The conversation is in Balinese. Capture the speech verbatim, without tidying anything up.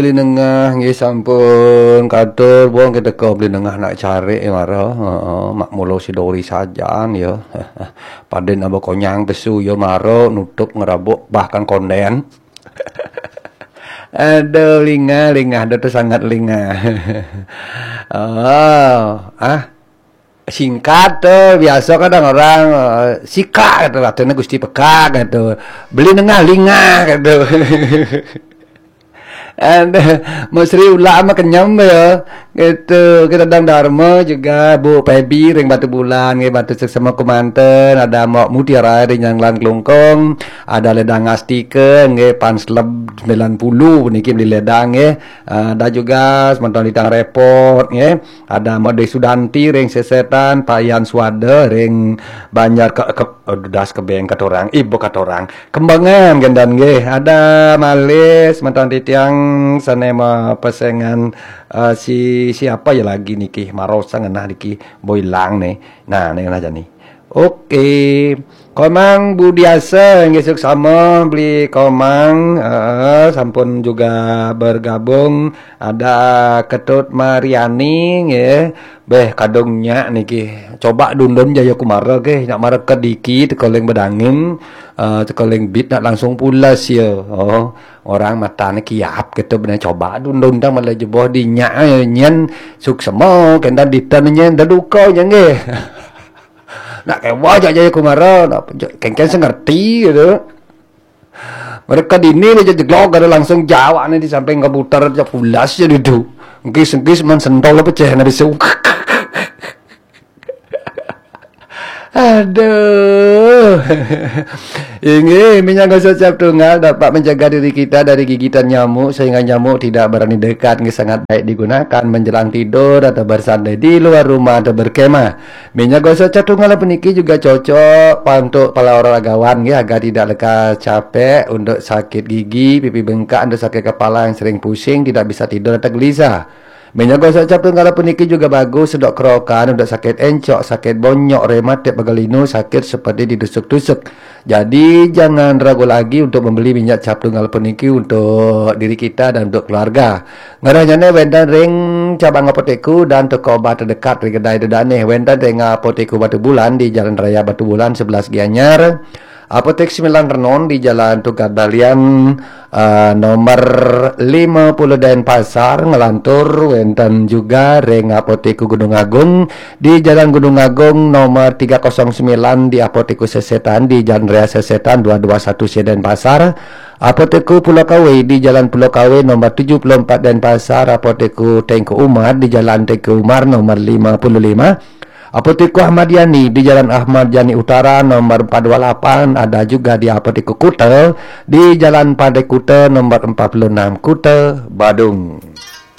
Beli nengah nggih sampun katur, wong kita ke beli nengah nak cari ya mara. Heeh, mak mulo si Dori sajan ya. Paden aba konyang pesu ya mara nutup ngerabuk bahkan konden. Aduh, lingah, lingah, aduh tu sangat lingah. Oh, ah, singkat tu, biasa kadang orang, eh, sika kata, katanya Gusti Peka kata. Beli nengah lingah kata. Ada Mesri Ulak mah kenyem ya. Gitu, kita dang Dharma juga, Bu Pebi ring Batu Bulan, nggih, Batu Seksema Kemanten, ada Mbok Mutiara ring Nyanglan Klungkung, ada Ledang Astika, nggih, Pan Sleb sembilan puluh niki beli ledang, nggih. Ah, ada juga semeton Litang Repot, nggih. Ada Mbok Dwi Sudanti ring Sesetan, Pak Yan Suwada ring Banjar ke, ke, oh, das kebeng katorang, ibu katorang. Kembangan gendan nggih. Ada malih semeton titiang sane mapesengan, eh, si siapa ya lagi niki? Marosa ngenah niki, Boilang nih. Nah, nih ngenah jani. Oke. Komang Budiasa nggih suksama beli Komang, eh, sampun juga bergabung. Ada Ketut Mariani nggih. Beh, kadung nyak niki. Coba dundun Jayakumara nggih, nak mara kediki tekoling bedangin, eh, tekoling bit nak langsung pulas ya. Oh, orang matane kiap gitu benar, coba dundun tang malah jeboh di nyak, eh, nyen suksema kendan ditan nyen deduka nyen nggih. Nak kewa aja Jayakumara, nak kengken sengerti gitu. Mereka dini aja jeglok ada langsung jawab nih di samping komputer aja pulas aja duduk. Engkis-engkis man sentol pecah nabi su. Aduh. Inggih, minyak gosok cap tunggal dapat mencegah diri kita dari gigitan nyamuk sehingga nyamuk tidak berani dekat. Nggih, sangat baik digunakan menjelang tidur atau bersantai di luar rumah atau berkemah. Minyak gosok cap tunggal puniki juga cocok untuk para olahragawan nggih, agar tidak lekas capek, untuk sakit gigi, pipi bengkak, untuk sakit kepala yang sering pusing, tidak bisa tidur atau gelisah. Minyak gosok cap tunggal puniki juga bagus untuk kerokan, untuk sakit encok, sakit bonyok, rematik, pegal linu, sakit seperti ditusuk-tusuk. Jadi jangan ragu lagi untuk membeli minyak cap tunggal puniki untuk diri kita dan untuk keluarga. Ngarahnya wenten ring cabang apotekku dan toko obat terdekat ring kedai tu danih. Wenten ring apotekku Batu Bulan di Jalan Raya Batu Bulan sebelas Gianyar. Apotek Sembilan Renon di Jalan Tukad Balian, eh, nomor lima puluh Denpasar, ngelantur wenten juga ring Apotek Gunung Agung di Jalan Gunung Agung nomor tiga kosong sembilan, di Apotek Sesetan di Jalan Raya Sesetan dua dua satu C Denpasar, Apotek Pulau Kawe di Jalan Pulau Kawe nomor tujuh puluh empat Denpasar, Apotek Tengku Umar di Jalan Tengku Umar nomor lima puluh lima, Apotek Ahmad Yani di Jalan Ahmad Yani Utara nomor empat dua lapan, ada juga di Apotek Kuta di Jalan Pantai Kuta nomor empat puluh enam, Kuta, Badung.